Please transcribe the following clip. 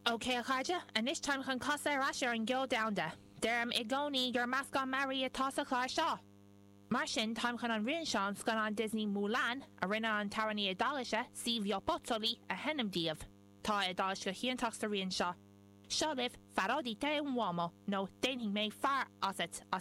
Ok, a chairde, anois táim chun casadh ar ais ar an gceol domhanda. Deirim i gcónaí gur meascán mearaí atá sa chlár seo! Mar sin, táim chun an rian seo ón scannán Disney Mulan, a rinne an t-amhránaí Iodáilise, Silvio Pozzoli, a sheinm daoibh. Tá a Iodáilis go hiontach sa rian seo. Seo libh Farò di te un uomo, nó Déanfaidh mé fear asat, as.